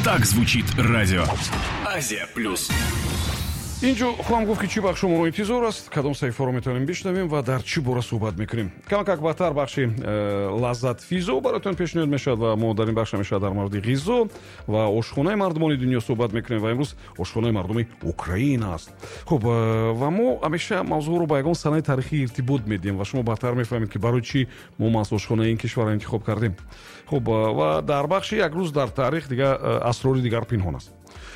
Так звучит радио. Азия Плюс. Инҷо хоҳам гуфт, ки чӣ бахшо моро интизор аст, кадом саҳифаро метавонем бишнавем ва дар чӣ бора суҳбат мекунем. Камакак баъдтар бахши «Лаззатфизо» бароятон пешниҳод мешавад ва мо дар ин бахш ҳамеша дар мавриди ғизо ва ошхонаи мардумони дунё суҳбат мекунем ва имрӯз ошхонаи мардуми Украина аст. Хуб, ва мо ҳамеша мавзӯъро ба ягон санаи таърихӣ иртибот медиҳем ва шумо баъдтар мефаҳмед, ки барои чӣ мо маҳз ошхонаи ин кишварро интихоб кардем. Хуб, ва дар бахши «Як рӯз дар таърих» дигар асрори дигар пинҳон аст.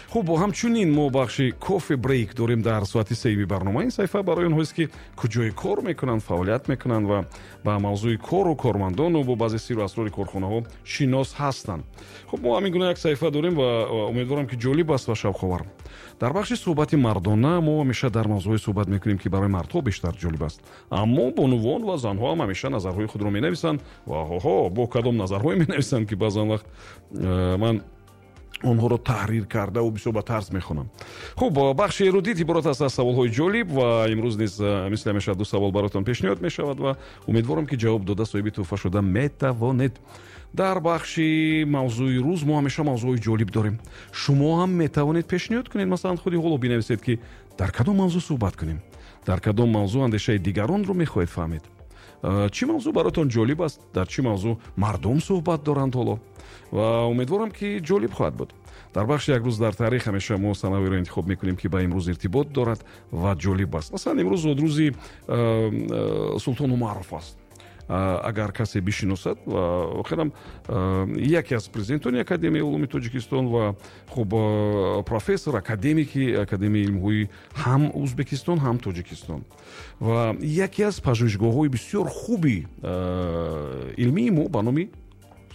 Хуб, ҳамчунин мо бахши «Кофе брейк» дорем дар соати сеюми барнома. Ин саҳифа барои онҳоест, ки куҷое кор мекунанд, фаъолият мекунанд ва ба мавзӯи кору кормандону бо баъзе сиру асрори корхонаҳо шинос ҳастанд. Хуб, мо ҳамин гуна як саҳифа дорем ва умедворам, ки ҷолиб аст ва шавқовар. Дар бахши «Суҳбати мардона» мо ҳамеша дар мавзӯъҳое суҳбат мекунем, ки барои мардҳо бештар ҷолиб аст, аммо бонувон ва занҳо ҳам ҳамеша назарҳои худро менависанд ва ҳоҳо, бо кадом назарҳое менависанд, ки баъзан вақт ман онҳоро таҳрир кардаву бисёр ба тарз мехонам. Хуб, бахши «Эрудит» иборат аст аз саволҳои ҷолиб ва имрӯз низ мисли ҳамеша ду савол бароятон пешниҳод мешавад ва умедворам, ки ҷавоб дода, соҳиби тӯҳфа шуда метавонед. Дар бахши «Мавзӯи рӯз» мо ҳамеша мавзӯъҳои ҷолиб дорем. Шумо ҳам метавонед пешниҳод кунед. Масалан, худи ҳоло бинависед, ки дар кадом мавзӯъ суҳбат кунем, дар кадом мавзӯъ андешаи дигаронро мехоҳед фаҳмед, чӣ мавзӯъ бароятон ҷолиб аст, дар чӣ мавзӯъ мардум суҳбат доранд ҳоло, ва умедворам, ки ҷолиб хоҳад буд. Дар бахши «Як рӯз дар таърих» ҳамеша мо санавиро интихоб мекунем, ки ба имрӯз иртибот дорад ва ҷолиб аст. Масалан, имрӯз зодрӯзи Султон Умаров аст, агар касе бишиносад. Ва воқеан яке аз президентони Академияи улуми Тоҷикистон ва, хуб, профессор, академики Академияи илмҳои ҳам Узбекистон, ҳам Тоҷикистон ва яке аз пажӯҳишгоҳҳои бисёр хуби илмии мо ба номи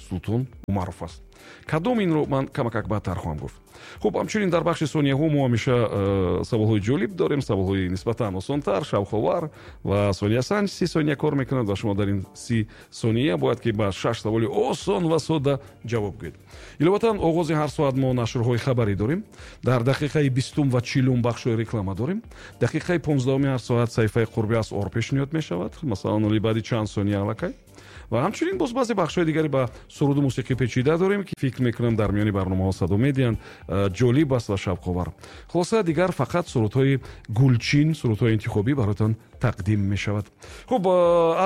Султон Умаров аст. Кадом, инро ман камакак баъдтар хоҳам гуфт. Хуб, ҳамчунин дар бахши «Сонияҳо» мо ҳамеша саволҳои ҷолиб дорем, саволҳои нисбатан осонтар, шавқовар, ва сониясанҷ 30 сония кор мекунад ва шумо дар ин 30 сония бояд ки ба шаш саволи осон ва содда ҷавоб гӯед. Иловатан, оғози ҳар соат мо нашрҳои хабарӣ дорем. Дар дақиқаи 20-ум ва 40-ум бахшҳои реклама дорем. Дақиқаи 15-уми ҳар соат саҳифаи «Қурби асъор» пешниҳод мешавад, масалан, оли баъди чанд сония аллакай. Ва ҳамчунин боз баъзе бахшҳои дигаре ба суруду мусиқӣ печида дорем, ки фикр мекунам, дар миёни барномаҳо садо медиҳанд, ҷолиб аст ва шавқовар. Хулоса, дигар фақат сурудҳои гулчин, сурудҳои интихобӣ бароятон тақдим мешавад. Хуб,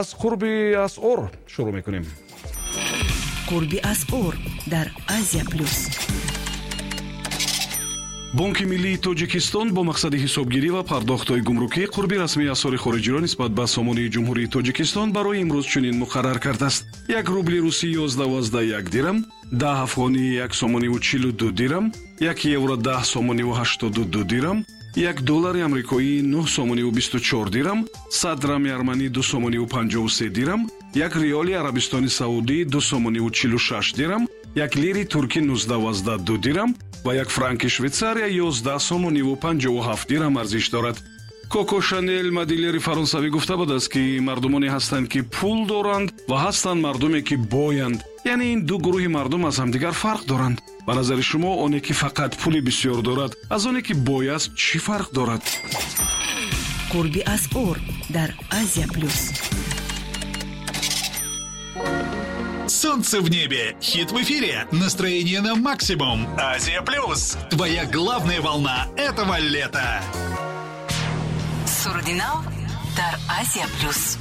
аз «Қурби асъор» шурӯъ мекунем. «Қурби асъор» дар Азия Плюс. Бонки миллии Тоҷикистон бо мақсади ҳисобгирӣ ва пардохтҳои гумрукӣ қурби расмии асъори хориҷиро нисбат ба сомонии Ҷумҳурии Тоҷикистон барои имрӯз чунин муқаррар кардааст: як рубли русӣ 11,1 дирам, 10 афғонӣ 1 сомониву 42 дирам, як евро 10 сомониву 82 дирам, як доллари амрикоӣ 9 сомониву 24 дирам, 100 драми арманӣ 2 сомониву 53 дирам, як риёли Арабистони Саудӣ 2 сомониву 46 дирам, як лири туркӣ 19,2 дирам ва як франки Швейтсария 11 сомониву 57 дирам арзиш дорад. Коко Шанел, модельери фаронсавӣ, гуфта будааст, ки мардумоне ҳастанд, ки пул доранд, ва ҳастанд мардуме, ки боянд, яъне ин ду гурӯҳи мардум аз ҳамдигар фарқ доранд. Ба назари шумо, оне ки фақат пули бисёр дорад, аз оне ки бой аст, чӣ фарқ дорад? «Қурби асъор» дар Азия Плюс. Солнце в небе, хит в эфире, настроение на максимум. Азия Плюс. Твоя главная волна этого лета. Суруди нав дар Азия Плюс.